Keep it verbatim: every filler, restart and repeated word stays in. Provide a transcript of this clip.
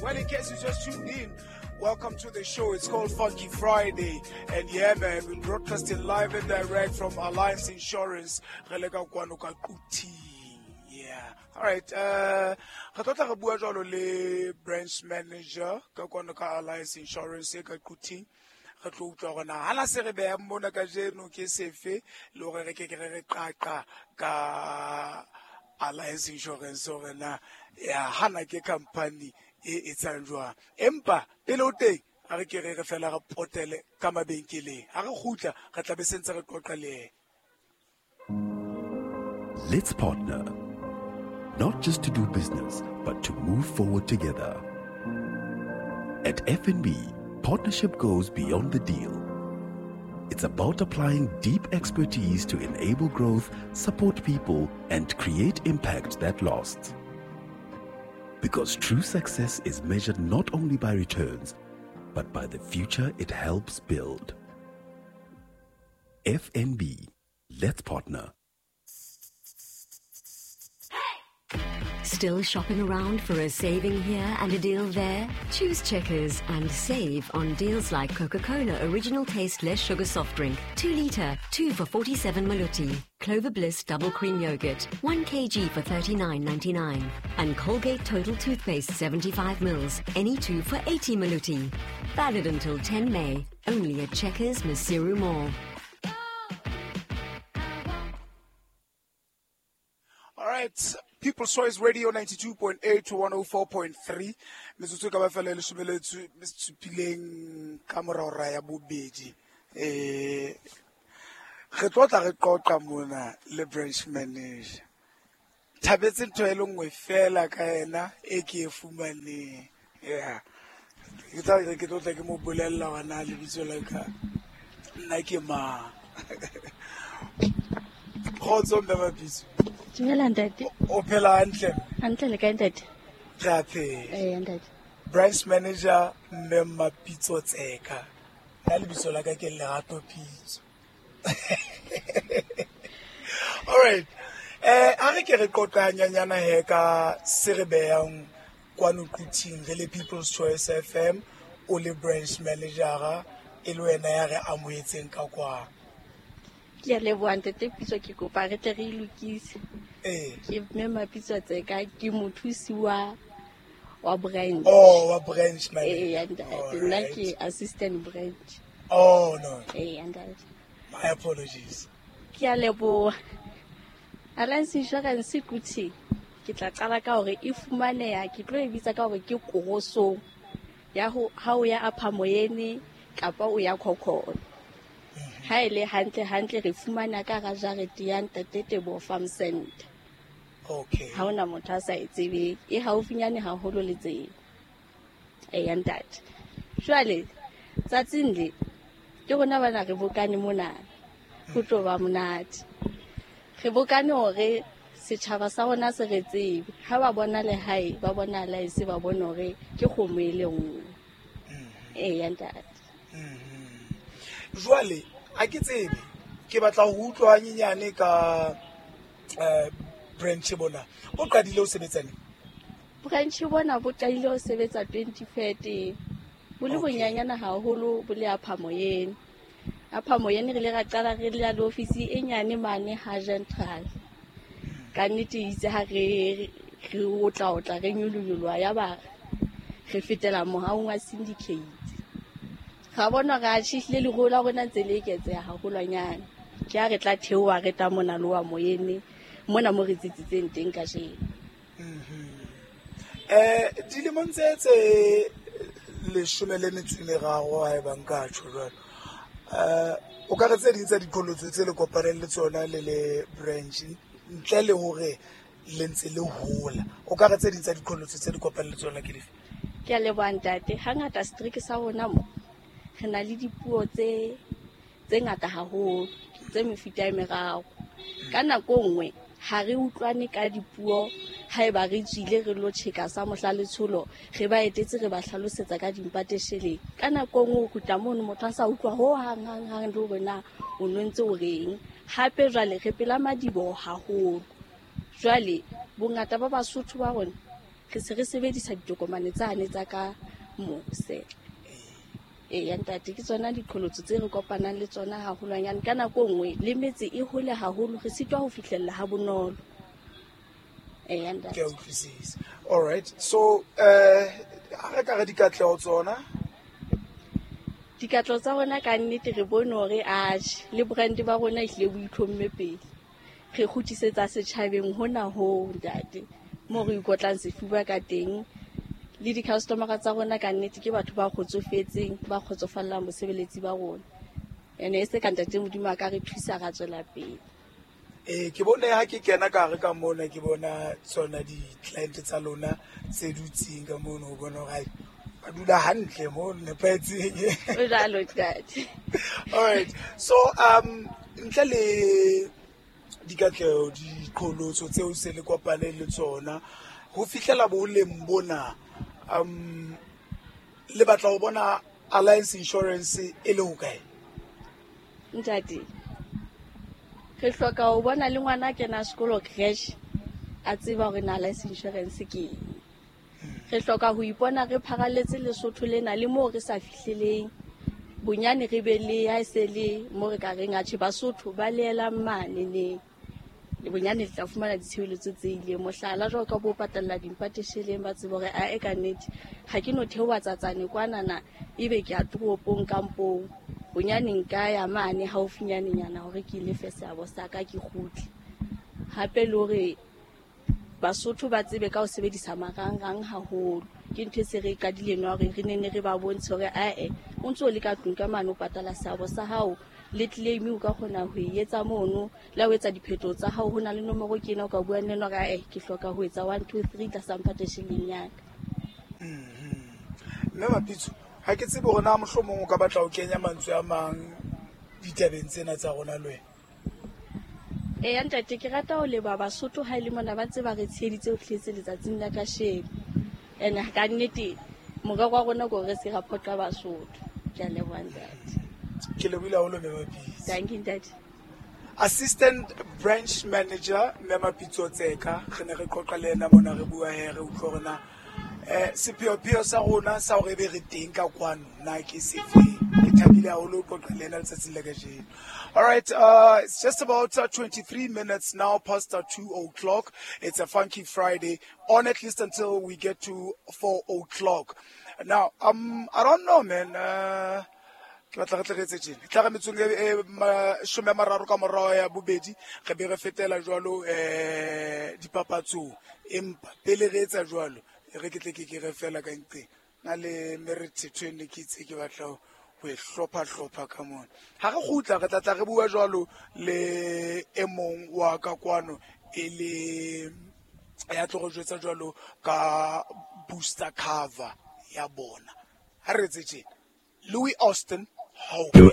Well, in case you just tuned in, welcome to the show. It's called Funky Friday. And yeah, man, we're broadcasting live and direct from Alliance Insurance. Re le ka kwano ka Quthing. Yeah. All right. Uh, re tlo tla re bua jwalo le branch manager ka kwano ka Alliance Insurance e ka Quthing. Re tlo utlwa hore na hala se re behang mona kajeno ke sefe le hore re ke ke re re qaqa ka Alliance Insurance hore na ya hana ke company e etsang jwang. Empa pele o teng a re ke re re fela re potele ka mabenkeleng. Ha re kgutla re tla be sentse re qoqa le yena. Let's partner, not just to do business, but to move forward together. At F N B, partnership goes beyond the deal. It's about applying deep expertise to enable growth, support people, and create impact that lasts. Because true success is measured not only by returns, but by the future it helps build. F N B, let's partner. Still shopping around for a saving here and a deal there? Choose Checkers and save on deals like Coca-Cola Original Taste Less Sugar Soft Drink, two litre, two for forty-seven Maluti, Clover Bliss Double Cream Yogurt, one kilogram for thirty-nine ninety-nine, and Colgate Total Toothpaste seventy-five mils, any two for eighty Maluti. Valid until ten May, only at Checkers Maseru Mall. All right. People's Choice Radio ninety-two point eight to one oh four point three. Metsotso e ka ba fela e leshome le supileng ka mora hora ya bobedi. Eh, re tlo tla re qoqa mona le branch manager. Thabetse ntho e le nngwe fela ka yena e ke e fumaneng. Yeah. Ke tla re ke tlo tla ke mo bolella hore na lebitso la ka nna ke mang. Kgotso mme Mapitso. Dumela ntate. O phela hantle? Hantle le kae ntate? Re a phela. Eh, ntate. Branch manager mme Mapitso Tseka. Nna lebitso la ka ke Lerato Pitso. All right. Eh, a re ke re qoqa hanyanyana he ka se re behang kwano Quthing re le People's Choice F M, o le branch manager e le wena ya re amohetseng ka kwa. Ke a leboha ntate Pitso, ke kopa re tle re lokise. Eh. Ke mme Mapitso Tseka, ke mothusi wa, wa branch. Oh, wa branch manager. Eh, ntate. Nna ke assistant branch. Oh, no. Eh, ntate. My apologies. Ke a leboha. Alliance Insurance Quthing, ke tla qala ka hore e fumaneha, ke tlo e bitsa ka hore ke korosong ya ho ha o ya Upper Moyene kapa o ya Khokholo. Ha e le hantle hantle re fumana ka hara jarete ya Ntate Teboho Farm Center. Okay. Ha hona motho a sa e tsebeng, e haufinyane haholo le tsela. Eh, ntate. Jwale tsatsing le ke rona bana re bokane mona. Ho tlo ba monate. Re bokane hore setjhaba sa rona se re tsebe. Ha ba bona lehae, ba bona Alliance, ba bone hore ke kgomo e le nngwe. Eh, ntate. Jwale ha ke tsebe, ke batla ho utlwa hanyenyane ka, eh, branch bona. O qadile ho sebetsa neng? Branch bona bo qadile ho sebetsa twenty thirteen. Bo le Okay. bonyanyana haholo, bo le Upper Moyene. Upper Moyene re ile ra qala re le le ofisi e nyane mane ha Gentral. Ka nnete itse ha re, re otla otla re nyolonyoloha ya ba re fetela mohaong wa syndicate. Ra bona re atjhehile leruo la rona ntse le eketseha haholwanyane. Ke ha re tla theoha re tla mona Lower Moyene, mona mo re tsitsitseng teng kajeno. Mm-hmm. Eh, dilemong tse tse leshome le metso e meraro ha eba nka tjho jwalo. Eh, o ka re tse ding tsa diqholotso tse le kopaneng le tsona le le branch ntle le hore le ntse le hola. O ka re tse ding tsa diqholotso tse le kopaneng le tsona ke dife? Ke a leboha ntate. Hangata strike sa rona mo re na le dipuo tse, tse ngata haholo, tse mefuta e meraro. Ka nako nngwe ha re utlwane ka dipuo, haeba re tswile re lo tjheka sa mohla letsholo, re ba etetse re ba hlalosetsa ka dimpatesheleng. Ka nako nngwe o kgutla mono motho a sa utlwa ho hang, hang, hang le hore na o no ntse o reng. Hape jwale re pela madiboho haholo. Jwale bongata ba Basotho ba rona Re se re sebedisa ditokomane tsane tsa ka mose. Eya ntate, ke tsona diqholotso tse re kopanang le tsona haholwanyane. Ka nako e nngwe le metse e hole haholo, re sitwa ho fihlella ha bonolo. Eya ntate. Ke a utlwisisa. All right. So eh ha re ka re dikatleho tsona? Dikatleho tsa rona ka nnete re bone hore atjhe le brand ba rona ehlile bo itlhomme pele. Re kgutlisetsa setjhabeng hona ho ntate, moo re ikotlang sefuba ka teng. Le di-customer-a tsa rona ka nnete ke batho ba kgotsofetseng, ba kgotsofallang bosebeletsi ba rona. Ene e se ka ntate Modimo a ka re thusa ra tswela pele. Eh, ke bone ha ke kena ka hare ka mona, ke bona tsona di-client tsa lona tse dutseng ka mono, ho bona hore ba dula hantle mo nepahetseng. O jwalo ntate. All right. So um ntle le dikatleho, diqholotso tseo se le kopane le tsona ho fihlela boleng bona, um le batla ho bona Alliance Insurance e le hokae? Ntate, re hloka ho bona le ngwana a kena sekolo creche a tseba hore na Alliance Insurance ke eng. Re hloka ho ipona re pharalletse Lesotho lena le moo re sa fihleleng. Bonyane re be le ha e se le mo re ka reng atjhe Basotho ba leelang mane neng. Le bonyane le tla fumana ditshebeletso tse ileng. Mohlala jwalo ka bo patalla dimpatesheleng, ba tsebe hore ae ka nnete ha ke no theoha tsatsane kwanana ebe ke ya toropong kampong. Bonyane nka ya mane haufinyanenyana hore ke lefe seabo sa ka ke kgutle. Hape le hore Basotho ba tsebe ka ho sebedisa marangrang haholo. Ke ntho e se re e qadileng hore re nenne re ba bontshe hore ae o ntso le ka tlung ka mane o patala seabo sa hao, le claim o ka kgona ho e etsa mono, le ha o etsa diphetoho tsa hao ho na le nomoro ke ena o ka buang le yena hore ae ke hloka ho etsa one two three tlasa mpatesheleng ya ka. Mme Mapitso, ha ke tsebe hore na mohlomong o ka batla ho kenya mantswe a mang ditabeng tsena tsa rona le wena. Eya ntate, ke rata ho leboha Basotho ha e le mona ba ntse ba re tsheheditse ho fihletse letsatsing la kasheno. Ene ka nnete morero wa rona ke hore re se ra phoqa Basotho. Ke a leboha ntate. Ke lebohile haholo Mme Mapitso. Thank you ntate. Assistant Branch Manager Mme Mapitso Tseka, re ne re qoqa le yena mona, re bua he, re utlwe hore na eh sepheopheo sa rona sa hore ebe re teng ka kwano na ke sefe. Ke thabile haholo ho qoqa le yena letsatsing la kajeno. All right, uh, it's just about uh, twenty-three minutes now past uh, two o'clock. It's a funky Friday, on at least until we get to four o'clock. Now, um, I don't know, man. Uh, ke batla re tle re etse tjena. Tla re metsong e, e mashome a mararo ka morao ya bobedi, re be re fetela jwalo, eh, dipapatsong. Empa pele re etsa jwalo, e re ke tle ke ke re fela ka nqeng. Na le merethetho e ne ke itse ke batla ho ho e hlopha-hlopha ka mona. Ha re kgutla, re tla tla re bua jwalo le e mong wa ka kwano, e le ya tlo re jwetsa jwalo ka booster cover ya bona. Ha re etse tjena. Louis Austin, Hope.